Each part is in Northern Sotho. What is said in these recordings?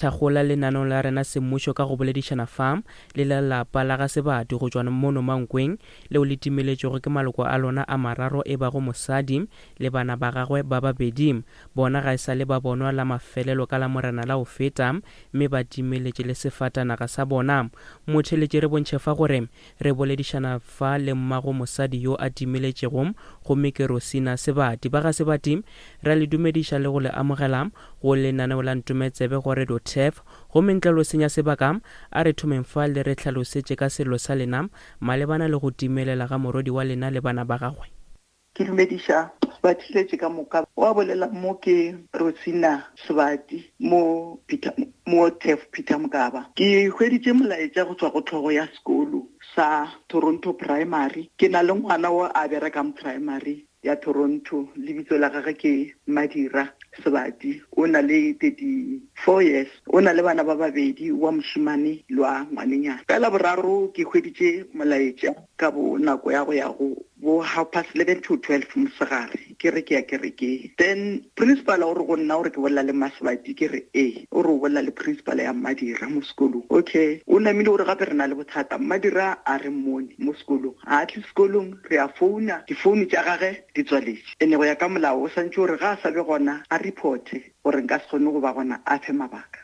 Thakgola lenaneo la rena semmušo ka go boledišana fa le la lapa la ga Sebati go tšwa mono Mankweng leo le timeletšwego ke maloko a lona a mararo e bago mosadi le bana ba gagwe ba babedi. Bona ga e sa le ba bonwa la mafelelo ka Lamorena la go feta mme ba timeletše le sefatanaga sa bona. Motheeletši re bontšhe fa gore Re boledišana fa le mmago mosadi yo a timeletšego, gomme ke Rosina Sebati. Ba ga Sebati, re a le dumediša le go le amogela go lenaneo la Ntometsebe go Radio Turf. Gomme ntle le go senya sebaka, a re thomeng fa le re hlalosetše ka sello sa lena malebana le go timelela ga morwedi wa lena le bana ba gagwe. Ke dumediša batheeletši ka moka. Wa bolela mo ke Rosina Sebati mo Peter mo Turf Peter Mokaba. Ke hweditše molaetša go tšwa go tlhogo ya sekolo sa Toronto Primary. Ke na le ngwana wo a berekang primary ya Toronto, lebitso la gagwe ke Madira Sebati. O na le 34 years. O na le bana ba babedi, wa mošemane le wa ngwanenyana. Ka Laboraro ke hweditše molaetša ka bo nako ya go ya go bo half past 11 to 12 mosegare ke re ke ya kerekeng. Then principal o re go nna o re ke bolela le Masebati, ke re ee. O re o bolela le principal ya Mmadira mo sekolong. Okay, o namile o re gape re na le bothata, Mmadira a re mmone mo sekolong, ga a tle sekolong, re a founa, difounu tša gage di tswaletše. Ene go ya ka molao o swantše gore ga a sa be gona a reporte. Gore nka se kgone go ba gona a fe mabaka.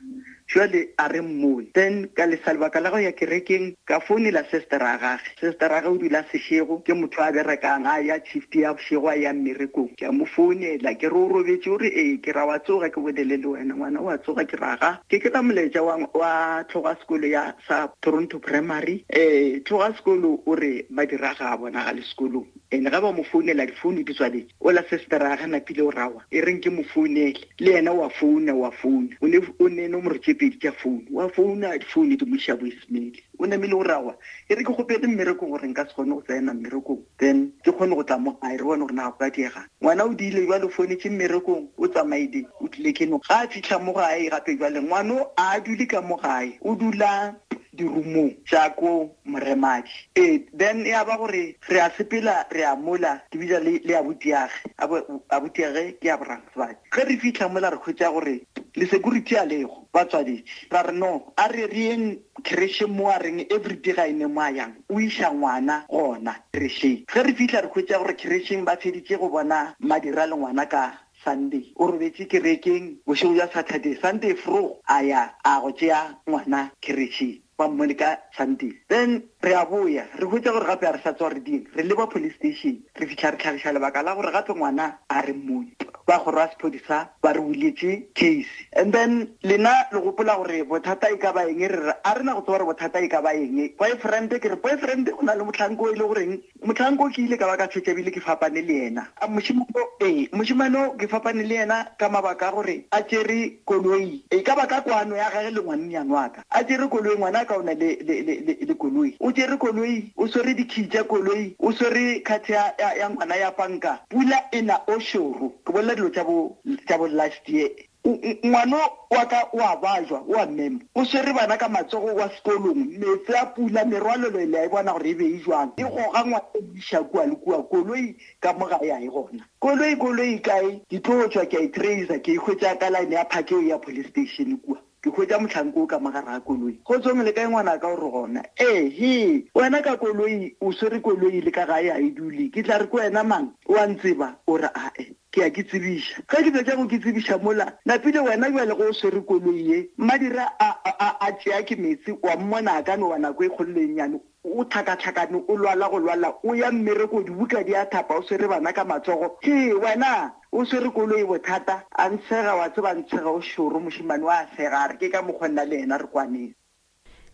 Jwale a re mmone. Then ka lesa lebaka la go ya kerekeng, ka founela sestera ya gage. Sestera ya gage o dula Seshego, ke motho a berekang, a ya shift ya bošego a ya mmerekong. Ke a mo founela, ke re o robetše, o re ee. Ke ra wa tsoga ke bolele le wena. Ngwana o a tsoga, ke ra ga. Ke kry-a molaetša wa, wa tlhogo ya sekolo ya sa Toronto Primary. Eh, tlhogo ya sekolo o re Madira ga a bonagale sekolong. And ga ba mo founela difounu di tswaletše. Ola sestera ya ge napile o rawa e reng ke mo founele. Le yena wa founa wa founa. O ne o ne nomoro tše pedi tša founu. Wa founa difounu di mo iša voicemail. O namile o rawa e re ke kgopele mmerekong gore nka se kgone go tsena mmerekong then ke kgone go tla mo gae re bone gore na go ka diegang. Ngwana o diile jwale o founetše mmerekong o tsamaile o tlile ke no. Ga a fihla mo gae gape jwale ngwano a dule ka mo gae o dula dirumong tša ko Moremadi. Ee, then ya ba gore re a sepela re ya mola, ke bitša le, le abutiage. Abo, abutiage ke Abraham Sebadi. Ge re fihla mola re hwetša gore le security a lego, ba tswaletše. Ra re no, a re re yeng kherešeng mo a reng everyday ga e ne mo a yang, o iša ngwana gona kherešeng. Ge re fihla re hwetša gore kherešeng ba feditše go bona Madira le ngwana ka Sunday. O robetše kerekeng bošego bja Saturday. Sunday vroeg a ya a go tšea ngwana kherešeng. Ba mmone ka Sunday. Then re a boya, re hwetša gore gape a re sa tswa re dieng, re leba police station. Re fihla re hlagiša lebaka la gore gape ngwana a re mmone. Ba kgoro ya sephodisa ba re buletše case. And then lena le gopola gore bothata e ka ba eng, re re a re na go tseba gore bothata e ka ba eng. Boyfriend, ke re boyfriend go na le mohlanka o e le goreng Mohlanka o ke ile ka ba ka fetša ebile ke fapane le yena. A mošemane o, ee, mošemane o ke fapane le yena ka mabaka a gore a tšere koloi, e ka ba ka kwano ya gage le ngwannyane wa ka. A tšere koloi, ngwanaka o na le, le, le, le, le koloi. O tšere koloi, o swere dikhii tša koloi, o swere card ya, ya, ya ngwana ya panka. Pula e na o šoro. Ke bolela dilo tša bo, tša bo last year. Ngwano wa ka o a bajwa, o a mema. O swere bana ka matsogo wa sekolong. Meetse a pula, merwalelo le a e bona gore e be e jwang. E goga ngwana e mo iša kua le kua. Koloi ka mo gae ga e gona. Koloi, koloi e kae? Ke tlo tšwa ke a e tracer, ke e hwetša ka line ya park eo ya police station kua. Ke hwetša mohlanka o ka mo gare ga koloi. Kgotsong, le kae ngwanaka? O re gona. Ee, hee, wena ka koloi, o swere koloi le ka gae ga e dule. Ke tla re ke wena mang? O a ntseba? O re ae. Ke a ke tsebiša. Ge ke fetša go ke tsebiša mola, napile wena bjale ge o swere koloi ye, Mmadira a, a, a tšea ke meetse, wa mmona a ka no wa nako e kgolo le e nnyane, o tlhakatlhakane, o lwala go lwala, o ya mmereko, dibuka di a thapa, o swere bana ka matsogo. Hee, wena, o swere koloi bothata. A ntshega, wa tseba, a ntshega o šoro, mošemane o a sega, a re, Ke ka mokgwa nna le yena re kwaneng.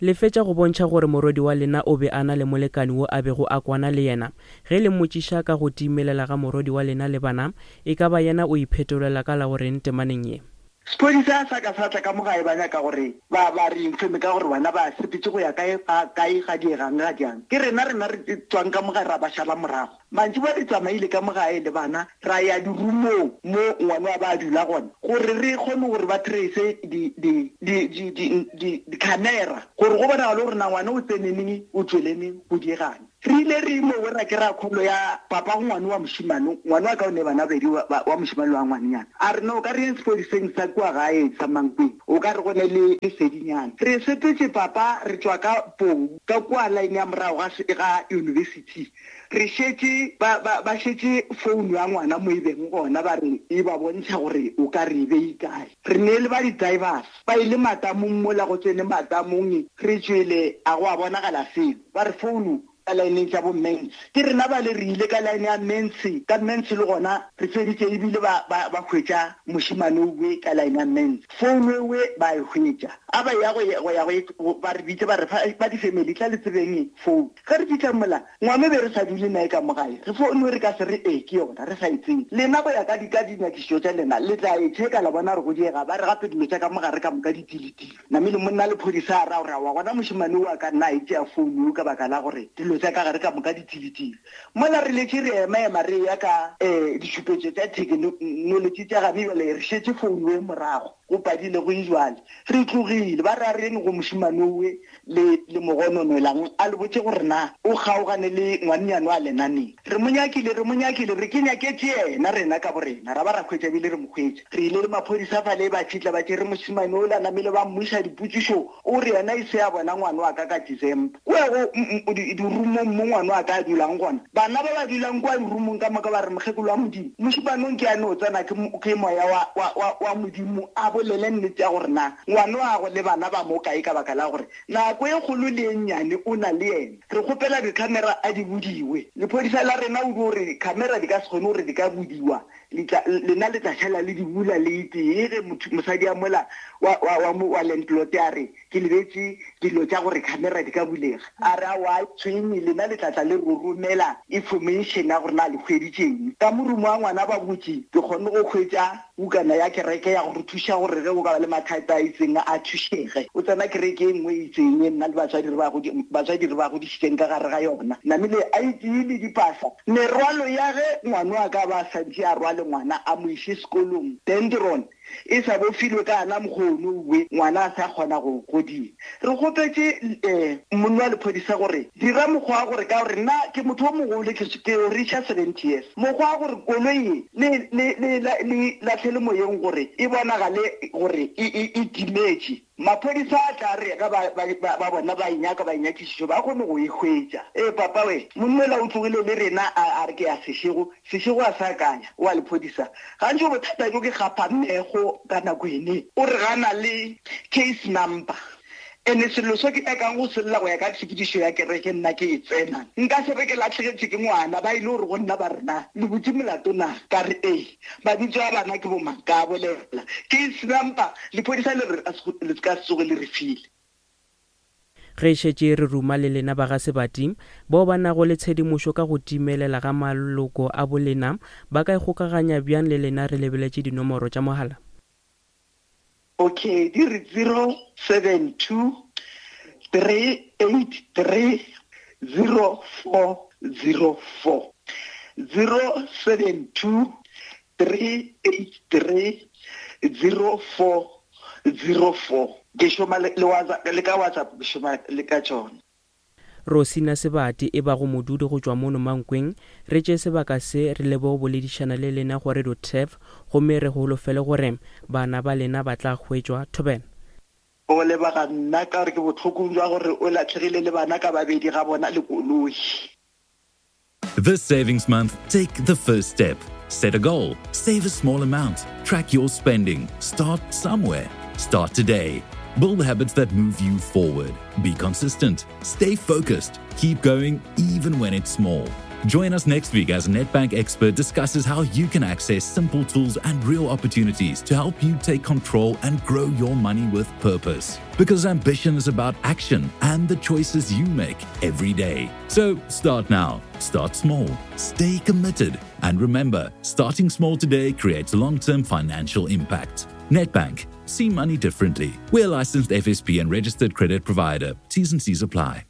Le fetša go bontšha gore morwedi wa lena o be a na le molekane wo a bego a kwana le yena. Ge le mmotšiša ka go timelela ga morwedi wa lena le bana, e ka ba yena o iphetolela ka la go reng temaneng ye? Sephodisa sa ka sa tla ka mo gae ba nyaka gore ba ba re informe ka gore bana ba sepetše go ya kae ga kae ga diegang ga diang. Ke rena rena re tšwang ka mo gae ra ba šala morago. Mantšiboa re tsamaile ka mo gae le bana ra ya dirumong mo ngwana wa ba a dula gona gore re kgone gore ba trace di, di, di, di, di, di, di-camera gore go bonagale gore na ngwana o tsene neng, o tšwele neng, go diegang. Re ile re mowe ra kry-a call ya papa go ngwane wa mošemane, ngwane wa ka o ne bana babedi wa mošemane le wa ngwanenyana. A re no ka re yeng sepodiseng sa kua gae sa Mankweng, o ka re go ne le lesedinyana. Re sepetše papa re tšwa ka Pou ka kua line ya morago ga ga university. Re šetše ba ba ba šetše phone ya ngwana mo e beng gona ba re e ba bontšha gore o ka re e bei kae. Re ne le ba di-divers ba ile matamong mola go tsene matamong re tšwele a go a bonagala selo. Ba re founu ka laeneng tša bo Mens. Ke rena bale re ile ka laene ya Mens, ka Mens le gona re feditše ebile ba, ba, ba hwetša mošemane owe ka laene ya Mens. Founu ewe ba e hwetša. A ba ya go, go ya go, ba re bitše ba re fa, ba di-family tla le tsebeng founu. Ge re fihla mola, ngwana o be re sa dule naye ka mo gae. Re founu re ka se re ee ke yona, re sa e tsebe. Lena go ya ka di, ka dinyakišišo tša lena, le tla e checka la bona gore go diega. Ba re gape dilo tša ka mo gare ka moka di tiletile. Namile monna lephodisa a ra gore aowa gona mošemane o a ka nna a e tšea founu eo ka baka la gore dilo tša ka gare ka moka di tiletile. Mola re letše re ema-ema re eya ka ditšhupetšo tša thekenolotši tša gane bjale re šetše founu e morago go padile go e jwale. Re tlogile ba re a re yeng go mošemane owe le le mo gononolang a le botše gore na o kgaogane le ngwannyane wa lena neng. Re mo nyakile, re mo nyakile, re ke nyaketše yena rena ka borena, ra ba ra hwetša ebile re mo hwetša. Re ile le maphodisa fale ba fihla ba tšere mošemane ola namile ba mmuša dipotšišo, o re yena e se a bona ngwana wa ka ka December. Kua go dirumong mo ngwana wa ka a dulang gona, bana ba ba dulang kua dirumong ka moka ba re mokgekolo wa Modimo, mošemane o nke a no tsena ke, ke moya wa, wa, wa, wa Modimo a bolele nnete ya gore na ngwana wa gagwe le bana ba mo kae ka baka la gore nako e kgolo le e nnyane o na le yena. Re kgopela di-camera a di budiwe. Lephodisa la rena o dio re camera di ka se kgone gore di ka budiwa, le tla, lena le tla šala le di bula le e tee. Ge motho, mosadi a mola wa, wa, wa, mo, wa landlord a re, Ke lebetše dilo tša gore camera di ka bulega. A re, Aowa, a e tshwenye, lena le tla tla le ro romela information ya gore na le hweditše eng. Ka morumo wa ngwana ba botše, ke kgonne go hwetša Bukana ya kereke ya go re thuša gore ge go ka ba le mathata a itseng a thušege. O tsena kereke e nngwe e itseng e nna le batswadi re ba batswadi re ba godišitšeng ka gare ga yona. Namile a itee le dipasa. Merwalo ya ge ngwano a ka ba a santše a rwale ngwana a mo iše sekolong, Dendron, e sa bofilwe ka ana mokgono we ngwana a sa kgona go godima. Re kgopetše monna wa lephodisa gore dira mokgwa wa gore ka gore nna ke motho o mogolo ke ke reacha 70 years mokgwa wa gore koloi ye le le le le lahlele moyeng gore e bonagale gore e e e timetše. Maphodisa a tla re ge ba ba ba bona ba e nyaka ba e nyakišišo ba kgone go e hwetša. Ee papa we monna ola o tlogile le rena a a re ke ya Seshego Seshego a sa akanya wa lephodisa gantši bothata bjo ke gapa mmeego ka nako ene o re gana le case number ene sello so ke nyakang go se lla go ya ka tshepedišo ya kereke nna ke e tsena nka se re ke lahlegetšwe ke ngwana ba ile gore go nna ba re na le butše molato na ka re ee mabitso a bana ke bomang ka bolela case number lephodisa le re le ka se tsoge le re file. Ge e šetše re ruma le lena ba ga Sebati, bao ba nago le tshedimošo ka go timelela ga maloko a bolena, ba ka ikgokaganya bjang le lena re lebeletše dinomoro tša mogala? Okay, di re 072 383 0404. 072 383 0404 ke šoma le, le, WhatsApp, le ka WhatsApp ke šoma le ka tšona. Rosina Sebati e bago modudi go tšwa mono Mankweng, re tšee sebaka se re lebe go boledišana le lena go Radio Turf gomme re holofele gore bana ba lena ba tla hwetšwa. Thobela. O leboga nna ka gore ke bohlokong jwa gore o latlhegile le bana ka babedi ga bona le koloi. This savings month, take the first step. Set a goal, save a small amount, track your spending, start somewhere. Start today. Build habits that move you forward. Be consistent, stay focused, keep going even when it's small. Join us next week as Nedbank expert discusses how you can access simple tools and real opportunities to help you take control and grow your money with purpose. Because ambition is about action and the choices you make every day. So start now, start small, stay committed, and remember starting small today creates long term financial impact. Nedbank, see money differently. We're licensed FSP and registered credit provider. T's and C's apply.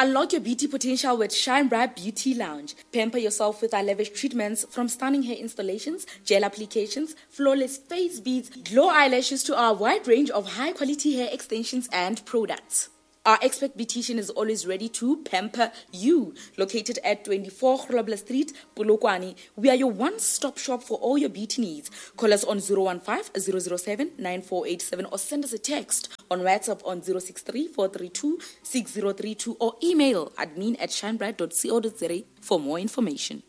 Unlock your beauty potential with Shine Bright Beauty Lounge. Pamper yourself with our lavish treatments from stunning hair installations, gel applications, flawless face beads, glow eyelashes to our wide range of high quality hair extensions and products. Our expert beautician is always ready to pamper you. Located at 24 Grobler Street, Polokwane, we are your one-stop shop for all your beauty needs. Call us on 015 007 9487 or send us a text on WhatsApp on 063 432 6032 or email admin at shinebright.co.za for more information.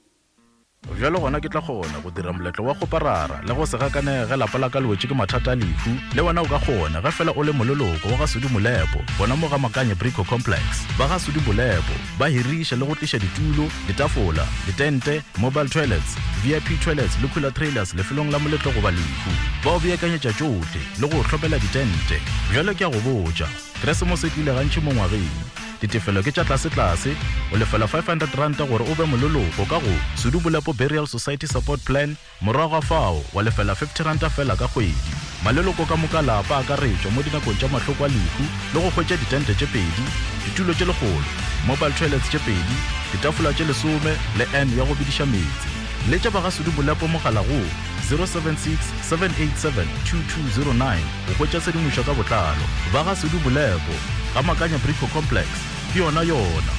Bjalo gona ke tla kgona go dira moletlo wa kgoparara le go se gakanege ge lapa la ka le wetše ke mathata a lehu. Le wena o ka kgona ge fela o le moleloko wa ga Sudi Molepo gona mo ga Makanye Brico Complex. Ba ga Sudi Molepo ba hiriša le go tliša ditulo, ditafola, ditente, mobile toilets, VIP toilets le cooler trailers lefelong la moletlo goba lehu. Ba o beakanyetša tšohle le go o hlomela ditente. Bjalo ke a go botša, Keresemose e tlile gantši mo ngwageng. Ditefelo ke tša tlasetlase, o lefela R500 gore o be moleloko ka go Sudu Bolepo Burial Society Support Plan, morago ga fao wa lefela R50 feela ka kgwedi. Maleloko ka moka a lapa a akaretšwa mo dinakong tša mahloko a lehu le go hwetša ditente tše pedi, ditulo tše lekgolo, mobile toilets tše pedi, ditafola tše lesome le urn ya go bediša meetse. Letša ba ga Sudu Bolepo mogala go 076 787 2209 go hwetša tshedimošo ka botlalo. Ba ga Sudu Bolepo, Ga Makanya Brico Complex, ke yona yona.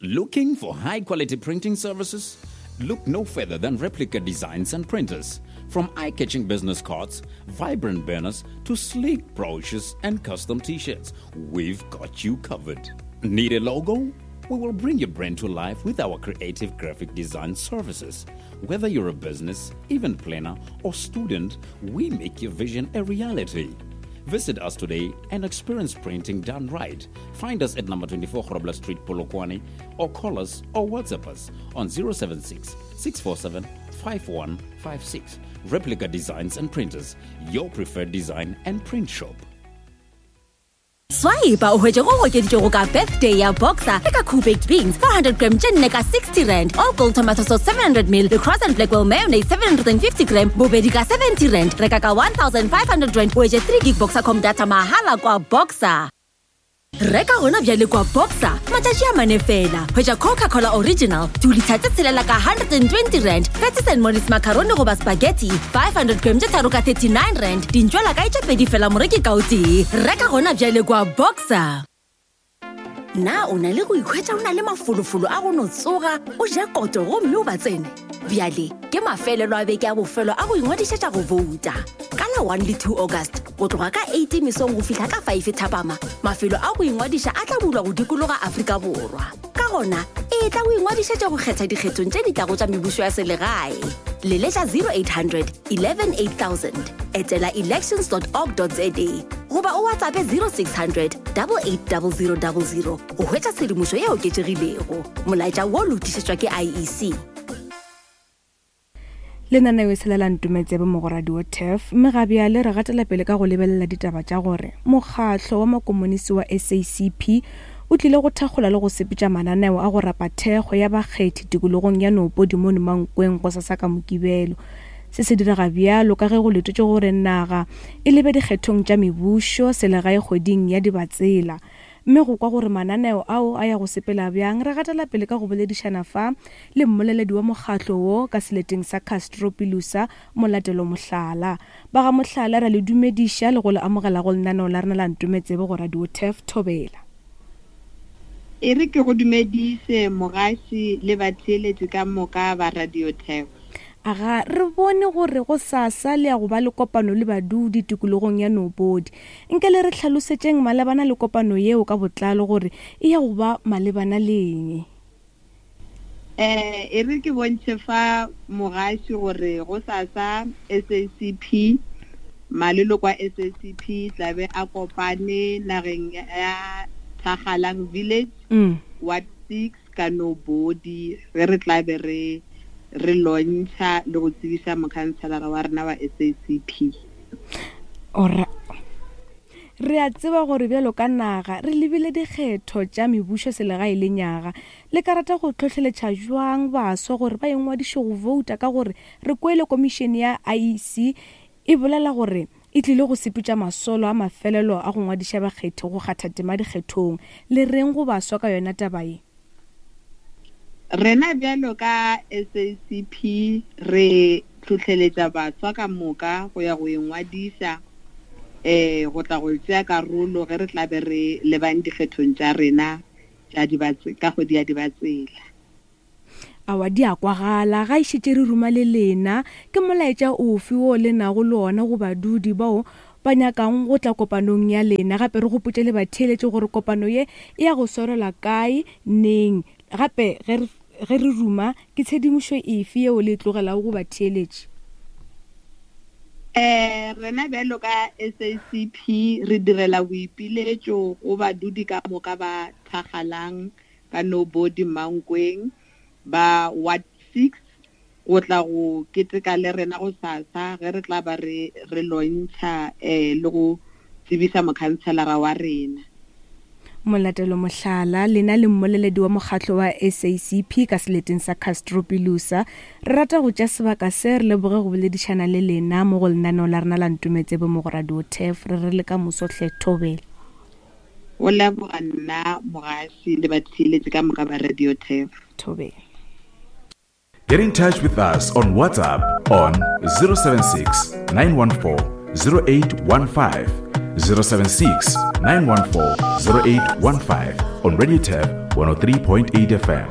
Looking for high quality printing services? Look no further than Replica Designs and Printers. From eye catching business cards, vibrant banners, to sleek brochures and custom t shirts, we've got you covered. Need a logo? We will bring your brand to life with our creative graphic design services. Whether you're a business, event planner, or student, we make your vision a reality. Visit us today and experience printing done right. Find us at number 24 Grobler Street, Polokwane, or call us or WhatsApp us on 076 647 5156. Replica Designs and Printers, your preferred design and print shop. Swipe o hwetše go okeditšwego ka birthday ya boxer le ka cool baked beans 400 gram tše nne ka 60 rand all gold tomato sauce 700 ml le cross and blackwell mayonnaise 750 gram bobedi ka 70 rand reka ka 1500 rand o hwetše 3 gig boxer com data mahala kwa boxer reka gona bjale kwa boxer matšatši a mane fela hwetša coca-cola original dilitha tše tshelela ka 120 rand Patties and Molly's macaroni goba spaghetti 500 gram tše tharo ka 39 rand dintšwela kae tše pedi fela moreki ka o tee reka gona bjale kwa boxer na o na le go ikhwetša o na le mafolofolo a go no tsoga o ja koto gomme o ba tsene bjale ke mafelelo a beke a bofelo a go ingwadišetša go bouta ka la 1 le 2 august go tloga ka 8 mesong go fihla ka 5 thapama mafelo a go ingwadiša a tla bulwa go dikologa afrika borwa Ka gona, etla o ingwadišetše go kgetha dikgethong tše di tlago tša mebušo ya selegae. Leletša 0800 11 8000, etela elections.org.za goba o WhatsAppe 0600 880000 go hwetša tshedimošo e oketšegilego. Molaetša wo lotišetšwa ke IEC. Lenaneo e sela la Ntometsebe mo go Radio Turf, mme ga bjale re gatela pele ka go lebelela ditaba tša gore mokgahlo wa makomonisi wa SACP o tlile go thakgola le go sepetša mananeo a go rapa thekgo ya bakgethi tikologong ya Noopodi mono Mankweng gosasa ka Mokibelo. Se se direga bjalo ka ge go letetšwe gore naga e lebe dikgethong tša mebušo selegae kgweding ya Dibatsela. Mme go kwa gore mananeo ao a ya go sepela bjang, re gatela pele ka go boledišana fa le mmoleledi wa mokgatlo wo ka seleteng sa Castro Pilusa, Molatelo Mohlala. Ba ga Mohlala, re a le dumediša le go le amogela go lenaneo la rena la Ntometsebe go Radio Turf Thobela. E re ke go dumediše mogaši le batheeletši ka moka ba Radio Turf. Aga, re bone gore gosasa le ya go ba le kopano le badudi tikologong ya Nobodi. Nke le re hlalosetšeng malebana le kopano yeo ka botlalo gore e ya go ba malebana le eng. Eh, e re ke bontšhe fa mogaši gore gosasa SACP, maleloko a SACP tlabe a kopane nageng ya Thakgalang Village, Ward 6, ka Nobody, ge re tla be re re lontšha le go tsebiša mokhanselara wa rena wa SACP. Ora re a tseba gore bjalo ka naga re lebile dikgetho tša mebušo selegae le nyaga. Le ka rata go hlohleletša bjang baswa gore ba ingwadiše go bouta ka gore re kwele komišene ya IEC e bolela gore e tlile go sepetša masolo a mafelelo a go ngwadiša bakgethi go kgatha tema dikgethong. Le reng go baswa ka yona taba ye? Rena bjalo ka SACP re hlohleletša baswa ka moka go ya go ingwadiša. um go tla go tšea karolo ge re tla be re lebang dikgethong tša rena tša ka kgwedi ya Dibatsela. Aowa di a kwagala, ga e šetše re ruma le lena. Ke molaetša ofe wo le nago le ona go badudi bao ba nyakang go tla kopanong ya lena? Gape re gopotše le batheeletši gore kopano ye e ya go swarelwa kae, neng, gape ge re ge re ruma, ke tshedimošo efe yeo le e tlogelago go batheeletši? Um rena bjalo ka SACP re direla boipiletšo go badudi ka moka ba Thakgalang ka Nobody Mankweng ba Ward 6 go tla go keteka le rena go sasa ge re tla ba re re lontšha um le go tsebisa mokhanselara wa rena. Molatelo Mohlala, lena le mmoleledi wa mokgatlo wa SACP ka seleteng sa Castro Pilusa. Re rata go tšea sebaka se re leboge go boledišana le lena mo go lenaneo la rena la Ntometsebe mo go Radio Turf. Re re le ka moso hle thobela. Go leboga nna mogaši le batheeletši ka moka ba Radio Turf. Thobela. Get in touch with us on WhatsApp on 076 914 0815. 076 914 0815 on Radio Tab 103.8 FM.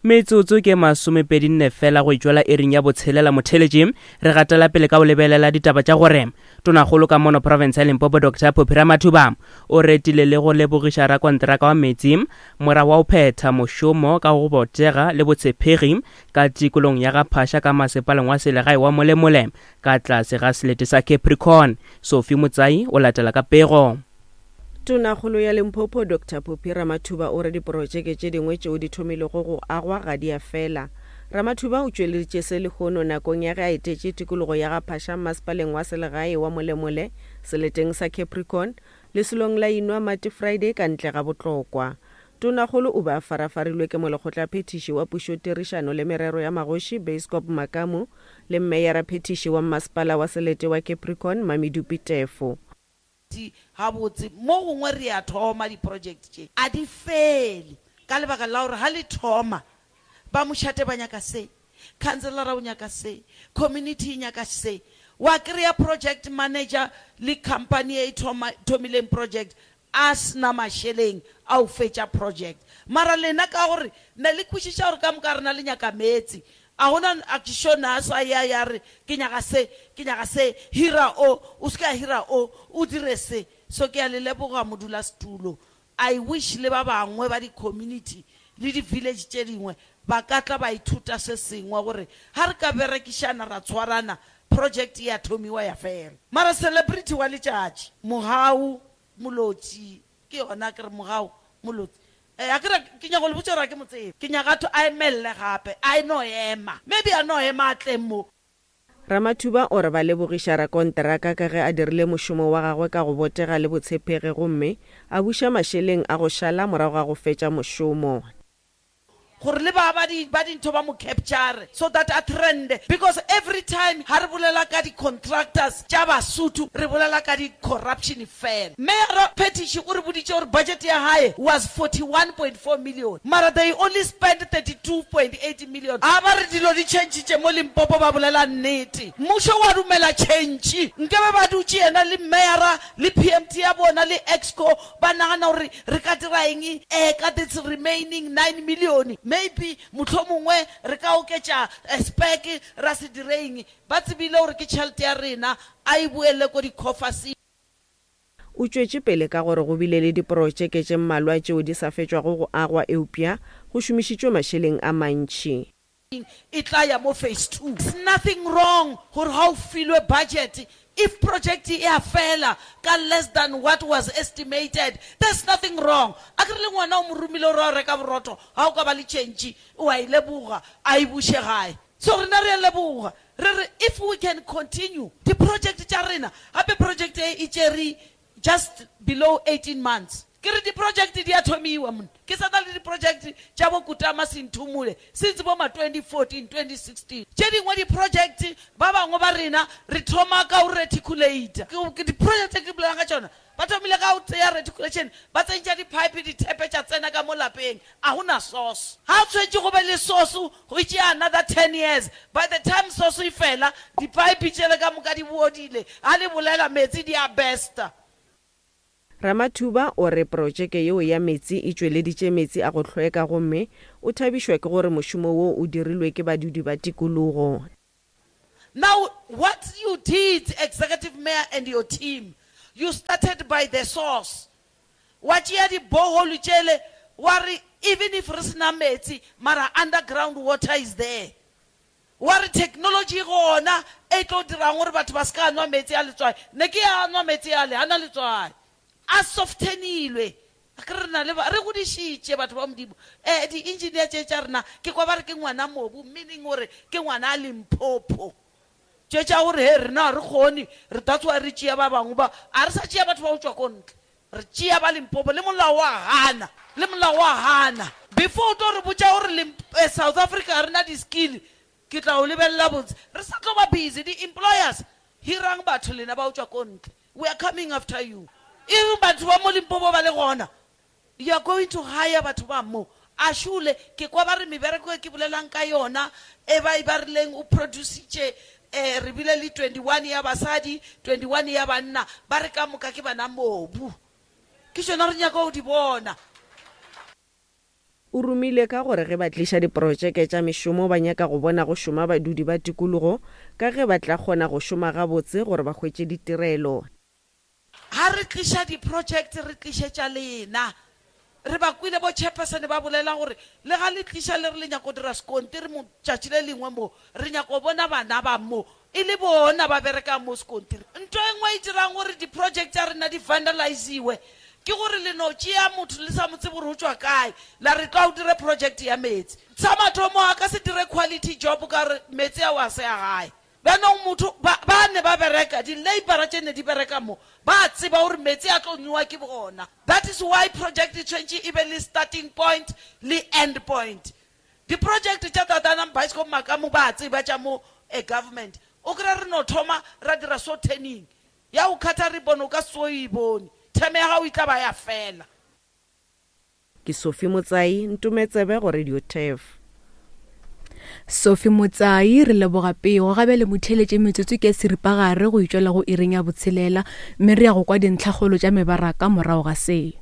Metsotso ke masomepedinne fela go itšwela iring ya botshelela motheletši re gatela pele ka go lebelela ditaba tša gore Tonakgolo ka mono profense ya Limpopo Doctor Phophi Ramathuba o retile le go lebogiša rakonteraka wa metsi morago wa go phetha mošomo ka go botega le botshepegi ka tikolong ya ga Phasha ka masepaleng wa selegae wa Molemole ka tlase ga selete sa Capricorn. Sophie Motsai o latela ka pego. Tonakgolo ya Limpopo Doctor Phophi Ramathuba o re diprotšeke tše dingwe tšeo di thomilego go agwa ga di a fela. Ramathuba o tšweleditše se lehono nakong ya ge a etetše tikologo ya ga Phasha mmasepaleng wa selegae wa Molemole seleteng sa Capricorn, lesolong la Inwa Mate Friday ka ntle ga Botlokwa. Tonakgolo o be a farafarilwe ke molekgotlaphethiši wa pušotirišano le merero ya magoši Beiskop Makamu le mmeyaraphethiši wa mmasepala wa selete wa Capricorn Mamidupi Tefo. Di gabotse. Mo gongwe re a thoma di-project tše, a di fele ka lebaka la gore ga le thoma ba mošate ba nyaka se, councillora o nyaka se, community e nyaka se. Wa kry-a project manager le company e thoma, thomileng project a se na mašeleng a go fetša project. Mara lena ka gore ne le kwešiša gore ka moka rena le nyaka meetse, A go na a ke sure na sa ya ya re ke nyaka se, ke nyaka se, hira o, o se ke a hira o, o dire se. So ke a le leboga modulasetulo. I wish le ba bangwe ba di community le di village tše dingwe ba ka tla ba ithuta se sengwe gore ga re ka berekišana ra tshwarana project e a thomiwa ya fela. Mara celebrity wa letšatši, Mogau Molotsi, Ke yona ke re mogau molotsi. Eh, a ke re ke nyaka go le botša gore a ke mo tsebe. Ke nyaka a a emelle gape, a e no ema. Maybe a no ema a tle mo. Ramathuba o re ba lebogiša rakonteraka ka ge a dirile mošomo wa gagwe ka go botega le botshepegi gomme a buša mašeleng a go šala morago ga go fetša mošomo. Gore le ba ba di ba dintho ba mo capture so that a trende because every time ha re bolela ka di contractors tša Basotho re bolela ka di corruption fela. Mayor Phetiši o re boditše gore budget ya hae was 41.4 million mara they only spent 32.8 million. Ha ba re dilo di changitše mo Limpopo ba bolela nnete. Mmušo wa dumela change. Nkebe ba dutše yena le Mayor le PMT ya bona le Exco Ba nagana gore re ka dira eng ka this remaining 9 million? Maybe mohlomongwe re ka oketša spec ra se dire eng? Ba tsebile gore ke tšhelete ya rena, a e boele ko di-coffers. O tšwetše pele ka gore go bile le diprotšeke tše mmalwa tšeo di sa fetšwago go agwa eupša go šomišitšwe mašeleng a mantši. E tla ya mo phase 2. It's nothing wrong gore ga o filwe budget, if project e a fela ka less than what was estimated, there's nothing wrong. Akere le ngwana o mo romile gore a yo reka borotho, ga o ka ba le tšhentšhi, o a e leboga, a e buše gae. So rena re a leboga, re re if we can continue di-project tša rena, gape project e e tšere just below 18 months. Ke re di-project di a thomiwa monna. Ke sa na le di-project tša bo Kutama Sinthumule since bo ma 2014, 2016. Tše dingwe di-project ba bangwe ba rena re thoma ka go reticulate. Ke di-project tše ke bolela. bolelang ka tšona? Ba thomile ka go tseya reticulation, ba tsentša di-pipe, dithepe tša tsena ka mo lapeng. A go na source. Ga o tshwetše go be le source, go tšea another ten years. By the time source e fela, di-pipe tšele ka moka di bodile. Ga le bolela, meetse di a burster. Ramathuba o re protšeke yeo ya meetse e tšweleditše meetse a go hlweka gomme o thabišwa ke gore mošomo wo o dirilwe ke badudi ba tikologo. Now what you did executive mayor and your team, you started by the source, wa tšea di borehole tšele wa re even if re se na meetse mara underground water is there. Wa re technology e gona e tlo dirang gore batho ba se ka nwa meetse a letswai. Ne ke a nwa meetse ale, a na letswai. A softenilwe. Akere re na le ba, re godišitše batho ba Modimo. Eh, di-engineer tše tša rena, ke kwa ba re ke ngwana mobu, meaning gore ke ngwana a Limpopo. Tše tša gore he rena ga re kgone, re that's why re tšea ba bangwe ba, a re sa tšea batho ba go tšwa ko ntle. Re tšea ba Limpopo, le molao wa gana, le molao wa gana. Before o tlo re botša gore Limp, eh, South Africa ga re na di-skill, ke tla o lebelela botse. Re sa tlo ba busy, di-employers, hirang batho lena ba go tšwa ko ntle. We are coming after you. E reng batho ba mo Limpopo ba le gona? You are going to hire batho ba mo. A šole, ke kwa ba re mebereko e ke bolelang ka yona, e ba e ba rileng o producitše, eh, re bile le 21 ya basadi, 21 ya banna, ba re ka moka ke bana mobu. Ke tšona re nyaka go di bona. O rumile ka gore ge ba tliša diprotšeke tša mešomo ba nyaka go bona go šoma badudi ba tikologo ka ge ba tla kgona go šoma gabotse gore ba hwetše ditirelo. Ga re tliša diproject re tlišetša lena. Re ba kwile bo chairperson ba bolela gore le ga le tliša le re le nyaka go dira sekontiri mo tšatši le lengwe mo, re nyaka go bona bana ba mo e le bona ba berekang mo sekontiri. Nto e nngwe e dirang gore diproject tša rena di vandaliziwe Ke gore le no tšea motho le sa mo tsebe gore o tšwa kae, la re tloga o dire project ya meetse. Sa mathomo a ka se dire quality job ka gore meetse ao a se a gae. Bjanong motho, ba, ba ne ba bereka, di-labourer tše ne di bereka mo, ba tseba gore meetse a tlo nwewa ke bona. That is why project e tshwentše e be le starting point le end point. Di-project tša Tatanang Bioscope Makamu ba tseba tša mo a government. O kry-a re no thoma ra dira so turning. Ya go khatha ribbon o ka se tsoge o e bone. Term ya gago e tla ba ya fela. Ke Sophie Motsai, Ntometsebe go Radio Turf. Sophie Motsai, re leboga pego. Ga bjale motheeletše metsotso ke ya seripagare go itšwela go iring ya botshelela mme re ya go kwa dintlhakgolo tša mebaraka morago ga se.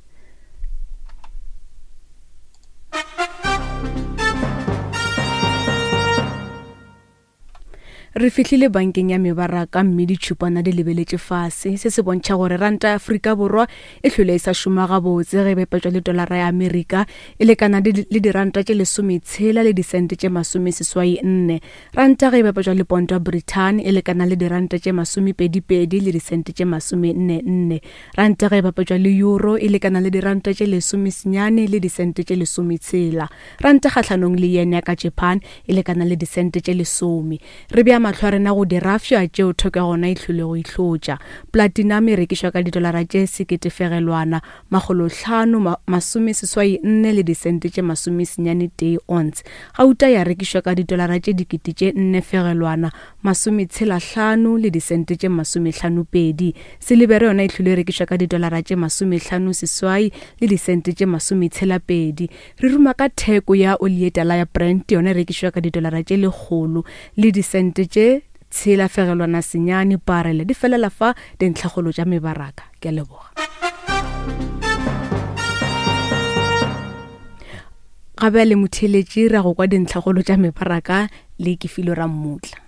Re fihlile bankeng ya mebaraka mme ditšhupana di lebeletše fase. Se se bontšha gore ranta ya Afrika Borwa e hlwele e sa šoma gabotse ge e bapetšwa le tolara ya Amerika e lekana le diranta tše lesometshela le disente tše masomeseswai nne. Ranta ge e bapetšwa le ponto ya Britain e lekana le diranta tše masomepedipedi le disente tše masomenne nne. Ranta ge e bapetšwa le euro e lekana le diranta tše lesomesenyane le disente tše lesometshela. Ranta kgahlanong le yen ya ka Japan e lekana le disente tše lesome. Re bea mahlo a rena go dirafša tšeo theko ya gona e hlwilego e hlotša. Platinum e rekišwa ka didolara tše seketefegelwana makgolohlano masomeseswai nne le disente tše masomesenyane tee ounce. Gauta ya rekišwa ka didolara tše dikete tše nne fegelwana masometshelahlano le disente tše masomehlanopedi. Silibere yona e hlwile e rekišwa ka didolara tše masomehlanoseswai le disente tše masometshelapedi. Re ruma ka theko ya oli ye tala ya Brent, yona e rekišwa ka didolara tše lekgolo le disente tše tshela fegelwana senyane parele. Di felela fa dintlhakgolo tša mebaraka. Ke a leboga. Ga bjale motheeletši ra go kwa dintlhakgolo tša mebaraka le Kefilo Rammutla.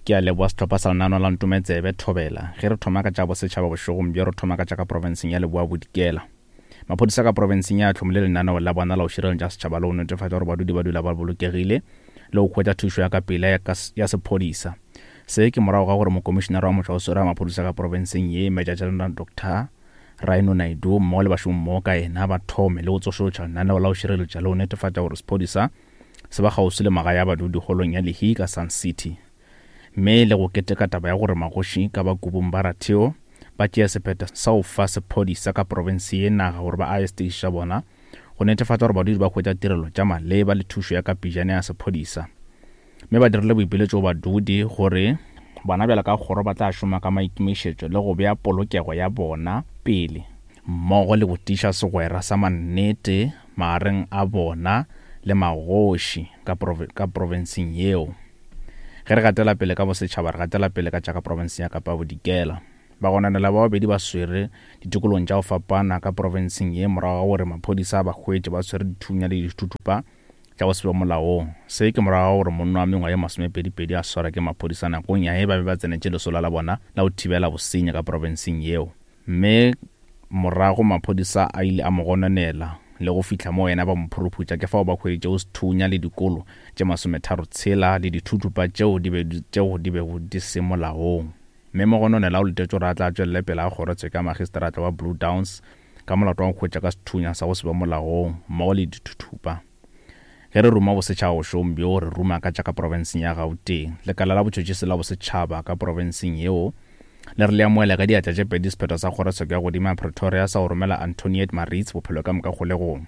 Ke a leboa sehlopha sa lenaneo la Ntometsebe, Thobela. Ge re thoma ka tša bosetšhaba bošegong bjo, re thoma ka tša ka profenseng ya Leboa Bodikela. Maphodisa ka profenseng ya hlomile lenaneo la bona la go šireletša setšhaba le go netefatša gore badudi ba dula ba bolokegile le go hwetša thušo ya ka pela ya, ya sephodisa. Se ke morago ga gore mokomišenare wa motšwaoswere wa maphodisa ka profenseng ye, Major General Doctor Rhino Naidoo mmogo le bašomimmogo ka yena ba thome le go tsošološa lenaneo la go šireletša le go netefatša gore sephodisa se ba kgauswi le magae a badudi holong ya Lehi ka Sun City. Mme le go keteka taba ya gore magoši ka ba Kubung ba Ratheo ba tšea sephetho sa go fa sephodisa ka profense ye naga gore ba age seteši sa bona go netefatša gore badudi ba hwetša tirelo tša maleba le thušo ya ka pejana ya sephodisa. Mme ba dirile boipiletšo go badudi gore bona bjalo ka kgoro ba tla šoma ka maikemišetšo le go bea polokego ya bona pele mmogo le go tiiša segwera sa mannete magareng a bona le magoši ka, ka profenseng yeo. Ge re gatela pele ka bosetšhaba, re gatela pele ka tša ka profenseng ya Kapa Bodikela. Bagononelwa ba babedi ba swere ditikolong tša go fapana ka profenseng ye morago ga gore maphodisa a ba hwetše ba swere dithunya le dithuthupa tša go se be molaong. Se ke morago ga gore monna wa mengwaga ye masomepedipedi a swarwe ke maphodisa nakong ya ge ba be ba tsenetše lesolo la bona la go thibela bosenyi ka profenseng yeo. Mme morago maphodisa a ile a mo gononela le go fihla mo yena ba mo phuruphutša, ke fao ba hweditšego sethunya le dikolo tše masometharotshela le dithuthupa tšeo di be tšeo di bego di se molaong. Mme mogononela o letetšwe gore a tla tšwelele pele a kgorotsheko ya magistrata wa Blue Downs ka molato wa go hwetša ka sethunya sa go se be molaong mmogo le dithuthupa. Ge re ruma bosetšhaba bošegong bjo, re ruma ka tša ka profenseng ya Gauteng. Lekala la botšhotšhisi la bosetšhaba ka profenseng yeo le re le amohela ka diatla tše pedi sephetho sa kgorotsheko ya godimo ya Pretoria sa go romela Antoniette Maritz bophelo ka moka kgolegong.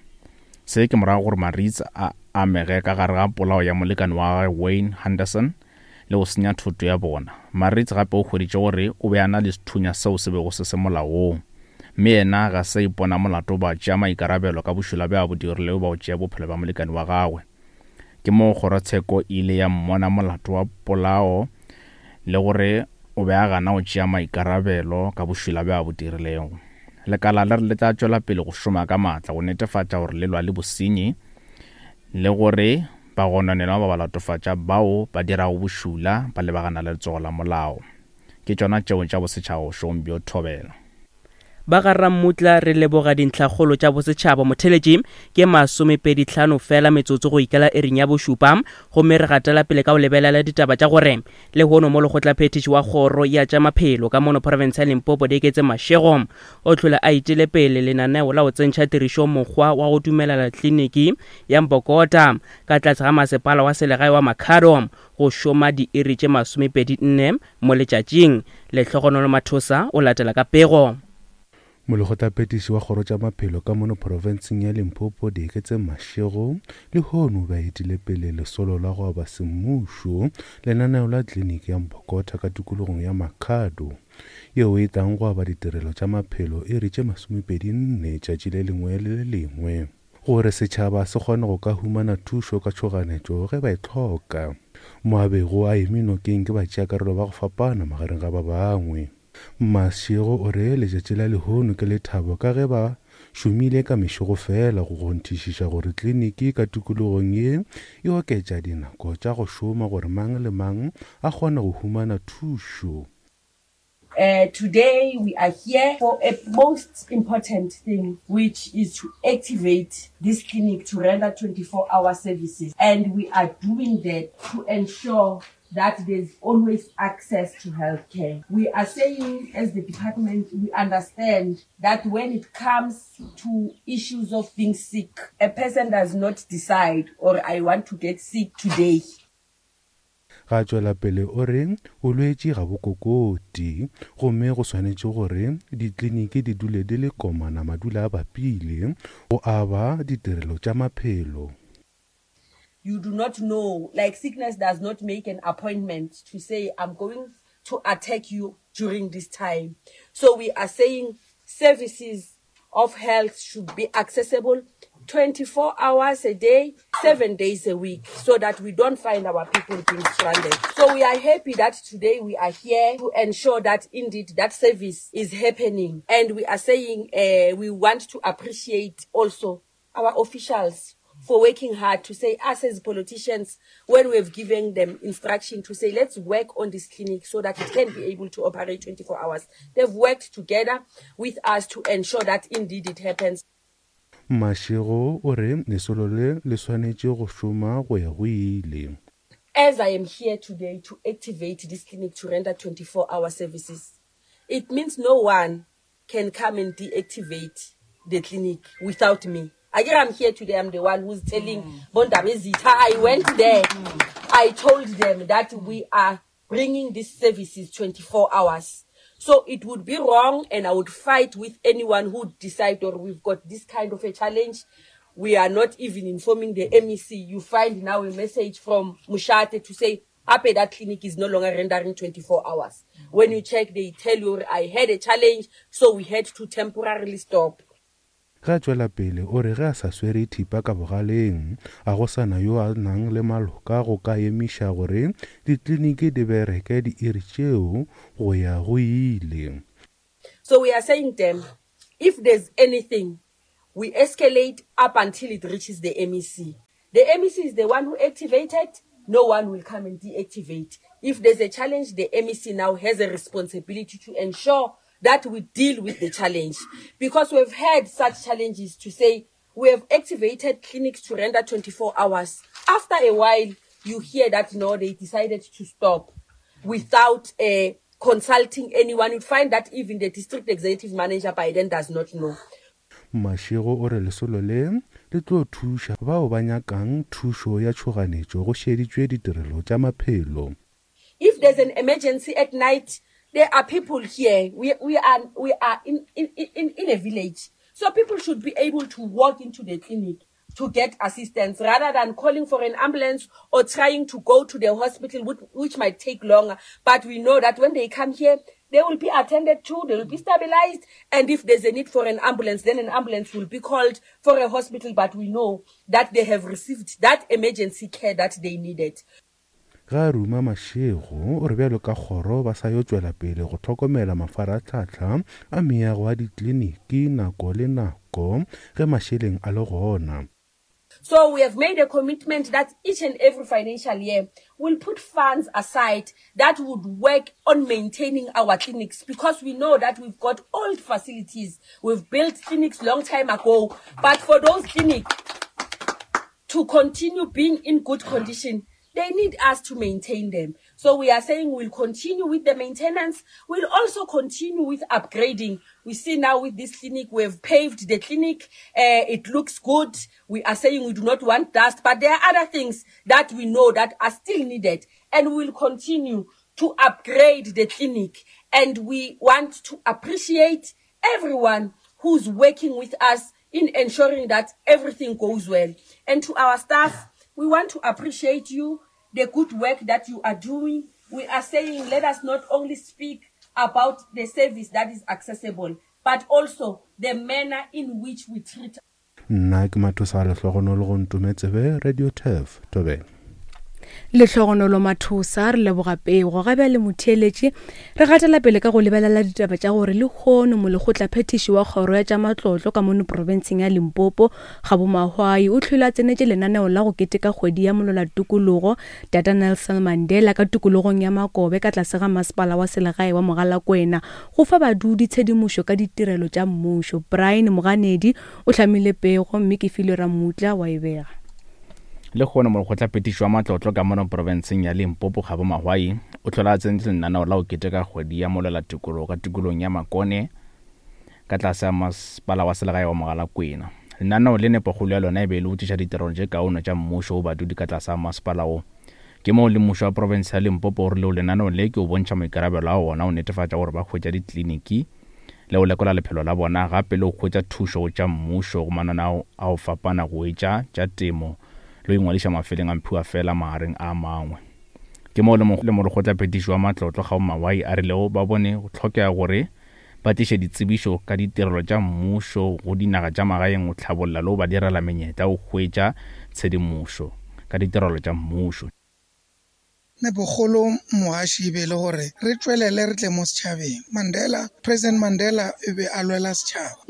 Se ke morago gore Maritz a amege ka gare ga polao ya molekane wa gagwe Wayne Henderson le go senya thoto ya bona. Maritz gape o hweditše gore o be a na le sethunya seo se bego se se molaong, mme yena ga se a ipona molato ba tšea maikarabelo ka bošula bjo a bo dirilego ba go tšea bophelo bja molekane wa gagwe. Ke moo kgorotsheko e ile ya mmona molato wa polao le gore o be a gana go tšea maikarabelo ka bošula bjo a bo dirilego. Lekala le re le tla tšwela pele go šoma ka maatla go netefatša gore le lwa le bosenyi le gore Bagononelwa ba ba latofatša bao ba dirago bošula ba lebagana le letsogo la molao. Ke tšona tšeo tša bosetšhaba bošegong bjo thobela. Ba ga Rammutla re leboga dintlhakgolo tša bosetšhaba motheletši ke masomepedihlano fela metsotso go ikela iring ya bošupa gomme re gatela pele ka go lebelela ditaba tša gore lehono mo lekgotlaphethiši wa kgoro ya tša maphelo ka mono profense ya Limpopo Dieketse Mashego o hlole a itele pele lenaneo la go tsentšha tirišong mokgwa wa go dumelela kliniki ya Mbokota ka tlase ga masepala wa selegae wa Makhado go šoma diiri tše 24 mo letšatšing. Lehlogonolo Mathosa o latela ka pego. Molekgotlaphethiši wa kgoro tša maphelo ka mono profenseng ya Limpopo Dieketseng Mashego lehono o be a etile pele lesolo la go aba semmušo lenaneo la kliniki ya Mbokota ka tikologong ya Makhado. yeo e tlang go aba ditirelo tša maphelo iri tše masomepedi-nne tšatši le lengwe le le lengwe, gore setšhaba se kgone go ka humana thušo ka tšhoganetšo ge ba e hloka. Mo a bego a eme nokeng ke batšeakarolo ba go fapana magareng ga ba bangwe. Mashego o re letšatši la lehono ke lethabo ka ge ba šomile ka mešego fela go kgonthišiša gore kliniki ka tikologong ye e oketša dinako tša go šoma gore mang le mang a kgone go humana thušo. Uh, today we are here for a most important thing, which is to activate this clinic to render 24-hour services. And we are doing that to ensure that there's always access to healthcare. We are saying as the department, we understand that when it comes to issues of being sick, a person does not decide or I want to get sick today. Ga tšwela pele o re bolwetši ga bo kokoti gomme go swanetše gore dikliniki di dule di le komana madula a bapile go aba ditirelo tša maphelo. You do not know, like sickness does not make an appointment to say I'm going to attack you during this time. So we are saying services of health should be accessible 24 hours a day, 7 days a week, so that we don't find our people being stranded. So we are happy that today we are here to ensure that indeed that service is happening. And we are saying uh, we want to appreciate also our officials for working hard to say us as politicians when we have given them instruction to say let's work on this clinic so that it can be able to operate 24 hours they've worked together with us to ensure that indeed it happens Mashego o re lesolo le le swanetše go šoma go ya go ile. As I am here today to activate this clinic to render 24 hour services, it means no one can come and deactivate the clinic without me. Again, I'm here today. I'm the one who's telling mm. Bondabezitha. I went there. Mm. I told them that we are bringing these services 24 hours. So it would be wrong, and I would fight with anyone who decide or we've got this kind of a challenge. We are not even informing the MEC. You find now a message from Mushate to say, Ape, that clinic is no longer rendering 24 hours. When you check, they tell you, I had a challenge, so we had to temporarily stop. Ge a tšwela pele o re ge a sa swere thipa ka bogaleng, a go sa na yo a nang le maloka go ka emiša gore dikliniki di bereke diiri tšeo go ya go ile. So we are saying them, if there's anything, we escalate up until it reaches the MEC. The MEC is the one who activated, no one will come and deactivate. If there's a challenge, the MEC now has a responsibility to ensure that we deal with the challenge. Because we've had such challenges to say, we have activated clinics to render 24 hours. After a while, you hear that no, they decided to stop without uh, consulting anyone. You find that even the district executive manager by then does not know. Mashego o re lesolo le le tlo thuša bao ba nyakang thušo ya tšhoganetšo go šeditšwe ditirelo tša maphelo. If there's an emergency at night, there are people here. We, we are, we are in, in, in, in a village. So people should be able to walk into the clinic to get assistance rather than calling for an ambulance or trying to go to the hospital, which, which might take longer. But we know that when they come here, they will be attended to, they will be stabilized, and if there's a need for an ambulance, then an ambulance will be called for a hospital. But we know that they have received that emergency care that they needed. Ge a ruma Mashego o re bjalo ka kgoro ba sa yo tšwela pele go hlokomela mafarahlahla a meago a dikliniki nako le nako ge mašeleng a le gona. So we have made a commitment that each and every financial year we'll put funds aside that would work on maintaining our clinics because we know that we've got old facilities. We've built clinics long time ago, but for those clinics to continue being in good condition, they need us to maintain them. So we are saying we'll continue with the maintenance. We'll also continue with upgrading. We see now with this clinic, we've paved the clinic. Uh, it looks good. We are saying we do not want dust, but there are other things that we know that are still needed. And we'll continue to upgrade the clinic. And we want to appreciate everyone who's working with us in ensuring that everything goes well. And to our staff, we want to appreciate you, the good work that you are doing. We are saying let us not only speak about the service that is accessible, but also the manner in which we treat Nna ke Mathosa Lehlogonolo go Ntometsebe, Radio Turf, Thobela. Lehlogonolo Mathosa, re leboga pego. Ga bjale motheeletši, re gatela pele ka go lebelela ditaba tša gore lehono molekgotlaphethiši wa kgoro ya tša matlotlo ka mono profenseng ya Limpopo, Kgabo Mahwai, o hlwile a tsenetše lenaneo la go keteka kgwedi ya molwela-tokologo Tata Nelson Mandela ka tikologong ya Makobe ka tlase ga masepala wa selegae wa Mogalakwena go fa badudi tshedimošo ka ditirelo tša mmušo. Brian Moganedi o hlamile pego mme ke filwe Ramutla wa e bega. Lehono molekgotlaphethiši wa matlotlo ka mono profenseng ya Limpopo Kgabo Mahwai o hlola a tsentše lenaneo la go keteka kgwedi ya molwela tokologo ka tikolong ya Makone ka tlase ga masepala wa selegae wa Mogalakwena. Lenaneo le nepokgolo ya lona e be e le go tliša ditirelo tše kaone tša mmušo go badudi ka tlase ga masepala wo. Ke moo le mmušo wa profense ya Limpopo o rilego lenaneo le ke o bontšha maikarabelo a wona go netefatša gore ba hwetša dikliniki le go lekola lephelo la bona gape le go hwetša thušo go tša mmušo go mananeo a go fapana go etša tša temo le go ingwadiša mafeleng a mphiwafela magareng a mangwe. Ke moo le molekgotlaphethiši wa matlotlo Kgabo Mawai a rilego ba bone go hlokega gore ba tliše ditsebišo ka ditirelo tša mmušo go dinaga tša magaeng go hlabolla le go ba direla menyetla go hwetša tshedimošo ka ditirelo tša mmušo. Nepokgolo mogaši e be e le gore re tšwelele re tle mo setšhabeng. Mandela, President Mandela e be a lwela setšhaba.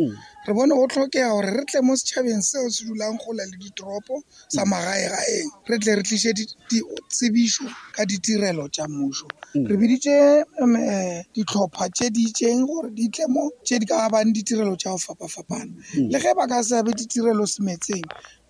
Re bone go hlokega gore re tle mo setšhabeng seo se dulang kgole le ditoropo sa magaegaeng, re tle re tliše ditsebišo ka ditirelo tša mmušo. Re biditše dihlopha tše di itšeng gore di tle mo tše di ka abang ditirelo tša go fapafapana. Le ge ba ka se abe ditirelo semetseng,